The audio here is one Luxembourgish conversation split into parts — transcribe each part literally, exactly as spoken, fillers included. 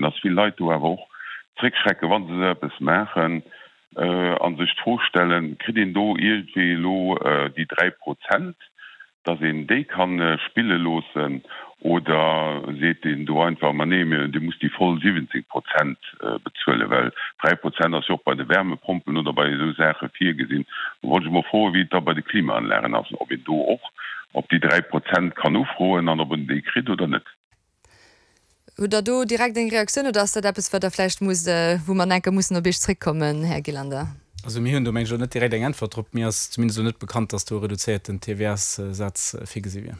dass vill Leit do awer och zréckschrecken, wa se esou eppes maachen a sech d'Fro stellen, Kritt een do iergendwéi elo déi dräi Prozent, dass een déi ka spille loossen, oder seet een do einfach, ma nee, Dir musst déi voll siwwenzéng Prozent bezuelen, well dräi Prozent ass jo och bei de Wärmepompen oder bei esou Saache virgesinn. Do wollt ech emol froen, wéi et da bei de Klimaanlagen ass, ob een do och op déi dräi Prozent kann ufroen an ob en déi kritt oder net. Hutt Der do direkt eng Reaktioun oder ass dat eppes, wat Der vläicht musst, wou mer enke mussen op Iech zréckkommen, Här Gillander? Also mir hunn do, meng ech, elo net direkt eng Äntwert drop. Mir ass zumindest elo net bekannt, dass do e reduzéierten T V S-Saz virgesi wier.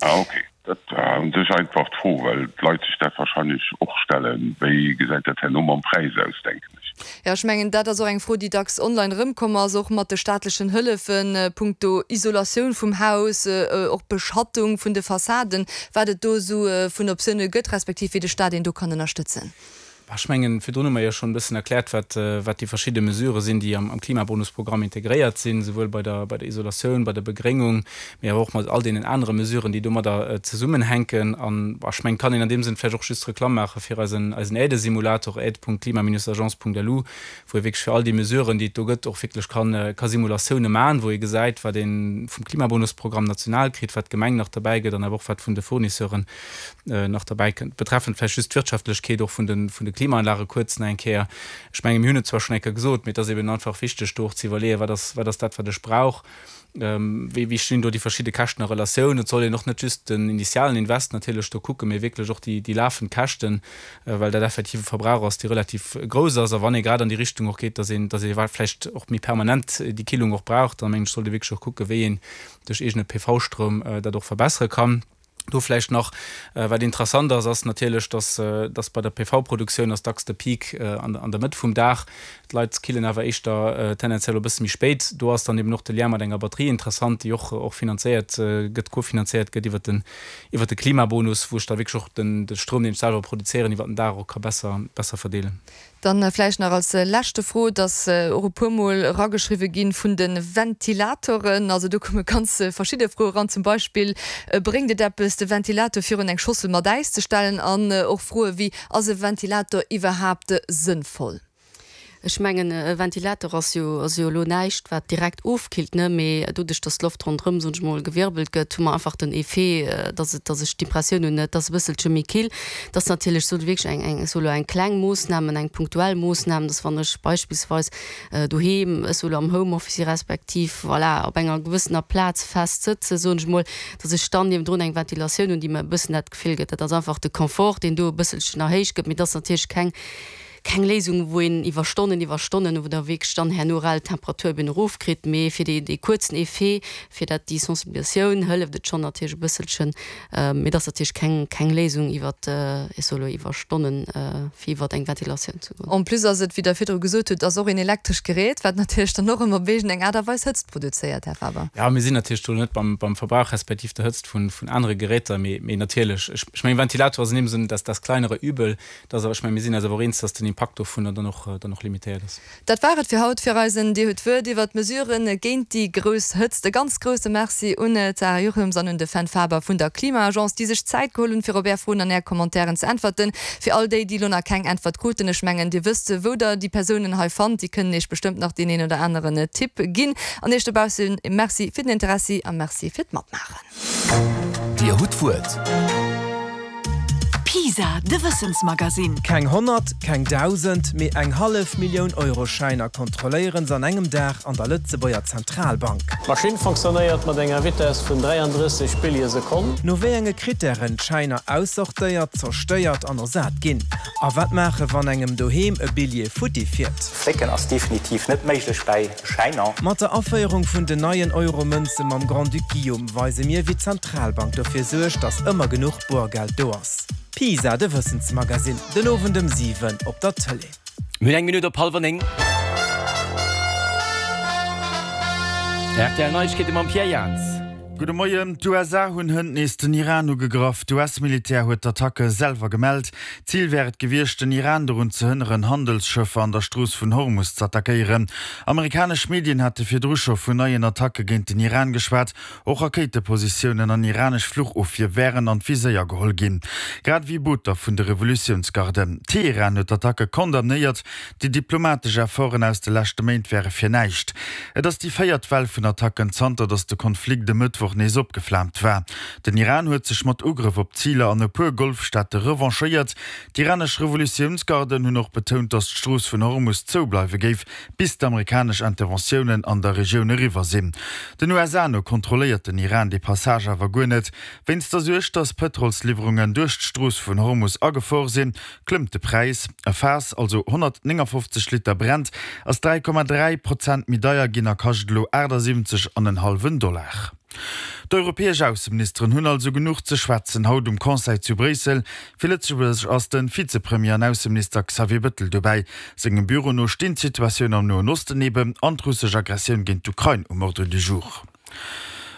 Ah ok, dat war u sech einfach d'Fro, well d'Leit sech dat wahrscheinlech och stellen, wéi gesäit dat herno mam Präis aus, denken ech. Jo, ech mengen, dat ass och eng Fro, déi dacks online erëmkomm ass, och mat de staatlechen Hëllefen punkto Isolatioun vum Haus, och Beschattung vun de Fassaden, wat et do esou vun Optioune gëtt, respektiv wéi de Staat een do kann ënnerstëtzen. Ech mengen, virdrun hu mer jo schonn e bëssen erkläert, wat, wat déi verschidde Mesurë sinn, déi am, am Klimabonusprogramm integréiert sinn, souwuel bei der, bei der Isolatioun, bei der Begréngung, mee awer och mat all deenen anere Mesuren, déi domadder zesummenhänken. An ech mengen, kann een an deem Sënn vläicht och just Reklamm maache fir eisen, eisen Aidesimulator aide Punkt klima Bindestrich agence Punkt L U, wou ee wierklech fir all déi Mesuren, déi et do gëtt, och wierklech kann, ka Simulatioune maachen, wou ee gesäit, wat ee vum Klimabonusprogramm national kritt, wat d'Gemeng nach derbäi gëtt an awer och wat vun de Fournisseuren nach derbäi kënnt. Betreffend vläicht just d'Wirtschaftlechkeet och vun de, vun de Klimaanlage kuerz nach eng Kéier. Ech menge mir hunn et zwar schonn eng Kéier gesot, mee et ass eben einfach wichteg do och ze iwwerleeën, wat ass, wat ass dat, wat ech brauch, wéi, wéi stinn do déi verschidde Käschten a Relatioun. Et soll een och net just den initialen Invest natierlech do kucken, mee wierklech och déi, déi lafend Käschten, well dat effektiv e Verbrauch ass, dee relativ grouss ass. A wann ee grad an déi Richtung och geet, dass een, dass ee vläicht och méi permanent déi Killung och brauch, da mengen ech, sollt ee wierklech och kucken, wéi een duerch eegene P V-Stroum dat och verbessere kann. Do vläicht nach, wat interessant ass, ass natierlech, dass, dass bei der P V-Produktioun ass dacks de Peak an, an der Mëtt vum Dag. D'Leit killen awer éischter tendenziell e bësse méi spéit. Do ass dann eben och de Lien mat enger Batterie interessant, déi och, och finanzéiert gëtt, kofinanzéiert gëtt iwwert den, iwwert de Klimabonus, wou ech da wierklech och den, de Stroum, deen ech selwer produzéieren, iwwert den Dag och ka besser, besser verdeelen. Dann vläicht nach als leschte Fro, et ass och e puermol erageschriwwe gi vun de Ventilatoren. Also do komme ganz verschidde Froe eran, zum Beispill, Bréngt et eppes, de Ventilator virun eng Schossel mat Äis ze stellen? An och Froe wéi, Ass e Ventilator iwwerhaapt sënnvoll? Ech mengen, e Ventilator ass jo, ass jo elo näischt, wat direkt ofkillt, ne, mee doduerch, dass d'Loft ronderëm, soen ech mol, gewirbelt gëtt, hu mer einfach den Effet, dass et, dass ech d'Impressioun hunn, et ass e bësselche méi kill. Dat ass natierlech sou wierklech eng, eng, ech soe lo eng kleng Moossnam, eng punktuell Moossnam, dass wann ech beispillsweis doheem, ech soe lo am Homeoffice si respektiv, voilà, op enger gewëssener Plaz fest sëtzen, soen ech mol, dass ech dann niewendrun eng Ventilatioun hunn, déi mer e bëssen dat Gefill gëtt. Dat ass einfach de Confort, deen do e bësselchen erhéicht gëtt, mee dat ass natierlech keng, keng Léisung, wou een iwwer Stonnen, iwwer Stonnen, wou da wierklech dann herno rel d'Temperatur eben erofkritt, mee fir dee, dee kuerzen Effet, fir dat déi Sensibilisatioun hëlleft et schonn natierlech e bësselchen, mee et ass natierlech keng, keng Léisung iwwer, ech soe lo iwwer Stonnen, fir iwwer eng Ventilatioun ze goen. En plus ass et, wéi Der virdru gesot hutt, ass och een elektrescht Gerät, wat natierlech dann och ëmmer op iergend eng Aart a Weis Hëtzt produzéiert, Här Faber. Jo, mir sinn natierlech do net beim, beim Verbrauch respektiv der Hëtzt vun, vun anere Geräter, mee, mee natierlech, ech, ech mengen, Ventilator ass an deem Sënn das, das kleinere Übel, dass awer, ech mengen, mir sinn eis awer och eens, dass den Impakt dovunner dann och, dann och limitéiert ass. Dat war et fir haut fir eisen Dir hutt d'Wuert iwwert d'Mesuren géint déi grouss Hëtzt. E ganz grousse Merci un d'Sarah Jochums an un de Fenn Faber vun der Klima-Agence, déi sech Zäit geholl hunn, fir op Är Froen an Är Commentairen ze äntwerten. Fir all déi, déi elo nach keng Äntwert kruten, ech mengen, Dir wësst, wou Der déi Persounen hei fannt, déi kënnen Iech bestëmmt nach deen een oder aneren Tipp ginn. An Iech dobaussen Merci fir den Interessi a Merci fir d'Matmaachen. Dir hutt d'Wuert. Pisa, de Wëssensmagasinn. Keng honnert, keng dausend, mee eng hallef Millioun Euro-Schäiner kontrolléieren se an engem Dag an der Lëtzebuerger Zentralbank. D'Maschinn fonctionnéiert mat enger Vitess vun dräiandrësseg Billje Sekonn. No wéi enge Krittären d'Schäiner aussortéiert, zerstéiert an ersat ginn. A wat maache wann engem doheem e Billjee futti fiert. Flécken ass definitiv net méiglech bäi Schäiner. Mat der Aféierung vun den neien Euro-Mënze mam Grand-Duc Guillaume weise mir, wéi d'Zentralbank dofir suergt, datt ëmmer genuch Boergeld do ass. Pisa, de Wëssensmagasinn, den Owend ëm siwen op der Tëlee. Mir hunn eng Minutt op hallwer néng. R T L Neiegkeete mam Pierre Jans. Gudde Moien, D'USA hunn hënt nees den Iran ugegraff. D'US-Militär huet d'Attacke selwer gemellt. Zil wär et gewiescht, den Iran dorun ze hënneren, Handelsschëffer an der Strooss vun Hormus z'attackéieren. Amerikanesch Medien hate virdru scho vun neien Attacke géint den Iran geschwat. Och Rakéitepositiounen an iranesch Fluchofwier wären an d'Viséier geholl ginn, grad ewéi Booter vun de Revolutiounsgarden. Teheran huet d'Attacke condamnéiert. Déi diplomatesch Efforten aus de leschte Méint wäre fir näischt. Et ass déi véiert Well vun Attacken, zanter datt de Konflikt e Mëttwoch nees opgeflaamt war. Den Iran huet sech mat Ugrëff op Ziler an e puer Golfstaate revanchéiert. D'iranesch Revolutiounsgarden hunn och betount, datt d'Strooss vun Hormus zoubleiwe géif, bis d'amerikanesch Interventiounen an der Regioun eriwwer sinn. Den USA no kontrolléiert den Iran dee Passage awer guer net. Wéinst der Suerg, datt Pëtrolsliwwerungen duerch d'Strooss vun Hormus a Gefor sinn, klëmmt de Präis. E Faass, also honnertnéngafofzeg Liter Brent, ass dräi Komma dräi Prozent méi deier ginn a kascht elo aachtasiwwenzeg an en hallwen Dollar. D'europäesch Ausseministeren hunn also genuch ze schwätzen haut um Conseil zu Bréissel. Fir Lëtzebuerg ass de Vizepremier an Ausseminister Xavier Bettel dobäi. Sengem Büro no stinn d'Situatioun am Noen Osten eben an d'russesch Aggressioun géint d'Ukrain um Ordre du jour.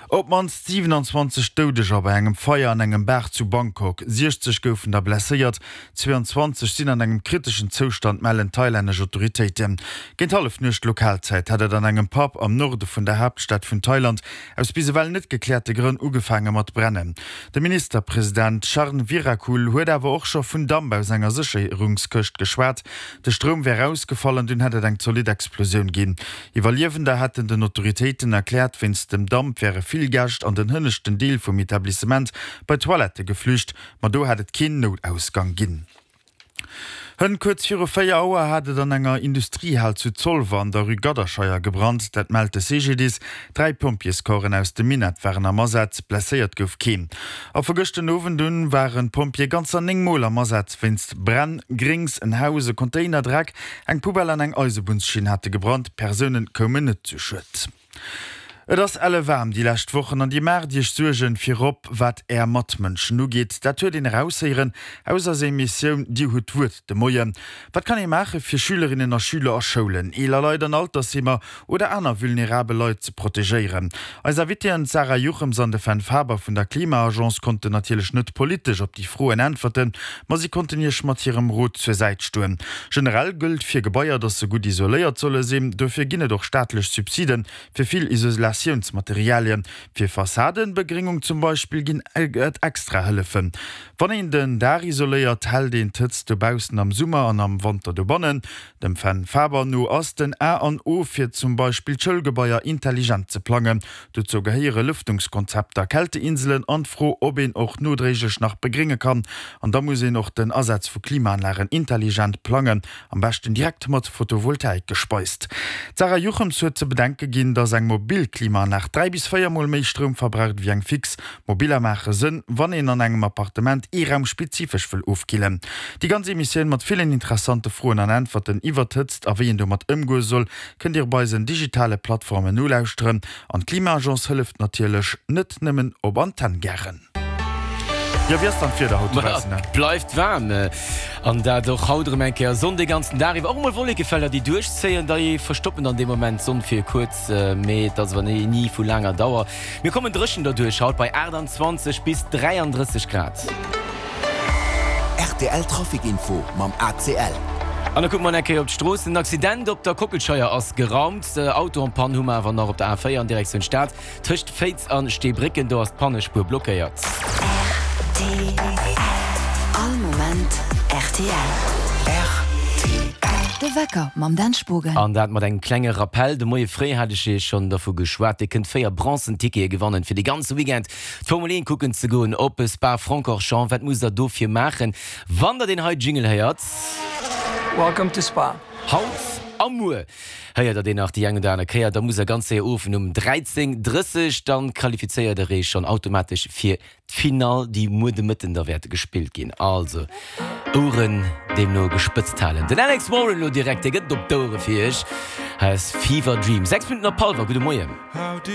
Op d'mannst siwenanzwanzeg Doudeger bei engem Feier an engem Bar zu Bangkok, siechzeg goufen der blesséiert, zweeanzwanzeg sinn an engem kriteschen Zoustand, mellen thailännesch Autoritéiten. Géint Hallefnuecht Lokalzäit hat et an engem Pub am Norde vun der Haaptstad vun Thailand aus bis ewell net gekläerte Grënn ugefaange mat brennen. De Ministerpresident Charnvirakul huet awer och scho vun Damp aus enger Sécherungskëscht geschwat. De Stroum wär ausgefall an dunn hätt et eng zolidd Explosioun ginn. Iwwerliewender hätten den Autoritéiten erkläert, wéinst dem Damp wäre vill Gäscht an den hënneschten Deel vum Etablissement bei d'Toilettë geflücht, ma do hätt et keen Noutausgang ginn. Hënt kuerz viru véier Auer hat et an enger Industriehal zu Zolwer an der Rue Gadderscheier gebrannt, dat mellt de C G D I S. Dräi Pompjeescorpsen aus dem Minett waren am Asaz, blesséiert gouf keen. A vu gëscht den Owend un waren d'Pompjeeë ganzer néng Mol am Asaz wéinst Bränn. Gréngs, en Haus, e Container, Dreck, eng Poubelle an eng Eisebunnsschinn hate gebrannt. Persoune koumen net zu Schued. Et ass elle waarm déi lescht Wochen an Dir maacht Iech Suergen, virop wat Är Matmënschen ugeet. Dat huet een eraushéieren aus eiser Emissioun Dir hutt d'Wuert de Moien. Wat kann ee maache fir Schülerinnen a Schüler a Schoulen, eeler Leit an Altersheemer oder aner vulnerabel Leit ze protegéieren? Eis Invitéen d'Sarah Juchems an de Fenn Faber vun der Klima-Agence konnten natierlech net politesch op déi Froen äntwerten, ma si konnten Iech mat hirem Rot zur Säit stoen. Generell gëllt fir Gebaier, dass se gutt isoléiert solle sinn. Dofir ginn et och staatlech Subsiden fir vill Isolatiounsmaterialien. Fir Fassadenbegréngung zum Beispill ginn et extra Hëllefen. Wann een den Daach isoléiert, hält een d'Hëtzt dobaussen am Summer an am Wanter dobannen. Dem Fenn Faber no ass den A an O fir zum Beispill d'Schoulgebaier intelligent ze plangen. Dozou gehéiere Lëftungskonzepter, Kälteinselen an d'Fro, ob een och nodréiglech nach begrénge kann. An da muss een och den Asaz vu Klimaanlagen intelligent plangen, am beschten direkt mat Photovoltaik gespeist. D'Sarah Juchems huet ze bedenke ginn, dass eng mobil Klimaanlag dräi bis véier Mol méi Stroum verbraucht ewéi eng fix. Mobiller maache Sënn, wann een an engem Appartement ee Raum spezifesch wëll ofkillen. Déi ganz Emissioun mat villen interessante Froen an Äntwerten iwwer d'Hëtzt a wéi een domat ëmgoe soll, kënnt Dir op eisen digitale Plattformen nolauschteren. An d'Klima-Agence hëlleft natierlech net nëmmen op Antenn gären. Jo, wéi ass dann d'Wieder haut dobaussen? Et bleift waarm, an dat och haut erëm eng Kéier. Sonn de ganzen Dag iwwer, och emol Wollekefelder, déi duerchzéien, déi verstoppen dann dee Moment d'Sonn fir kuerz, mee et ass awer ni vu laanger Dauer. Mir kommen dréchen derduerch haut bei achttanzwanzeg bis dräiandrësseg Grad. Rtl Trafic Info mam A C L. An da kucke mer eng Kéier op d'Stroossen. Den Accident op der Kockelscheier ass geraumt. Auto en panne hu mer awer nach op der A véier an Direktioun Stad tëscht Féiz an Steebrécken. Do ass d'Pannespuer blockéiert. Rtl. All Moment rtl. Rtl. De Wecker mam Dan Spogen. An dat mat engem klenge Rappell, De Moie fréi hat ech Iech schonn dervu geschwat, Dir kënnt véier bronzen Tickete gewannen, fir de ganze Weekend d'Formel eent kucken ze goen op Spa-Francorchamps. Wat musst der dofir maachen, wann der deen hei Jingle héiert? Welcome to Spa. Haut a muer héiert der deen nach déi eng oder aner Kéier. Da musst der ganz séier uruffen um dräizéng drësseg, dann qualifizéiert der Iech schonn automatesch fir d'Finall, déi muer de Mëtten da wäert gespillt ginn. Also Oueren deemno gespëtzt halen. Den Alex Warren elo direkt, dee gëtt et op d'Ouere fir Iech. Hei ass Fever Dream. Sechs Minutten op hallwer. Gudde Moien.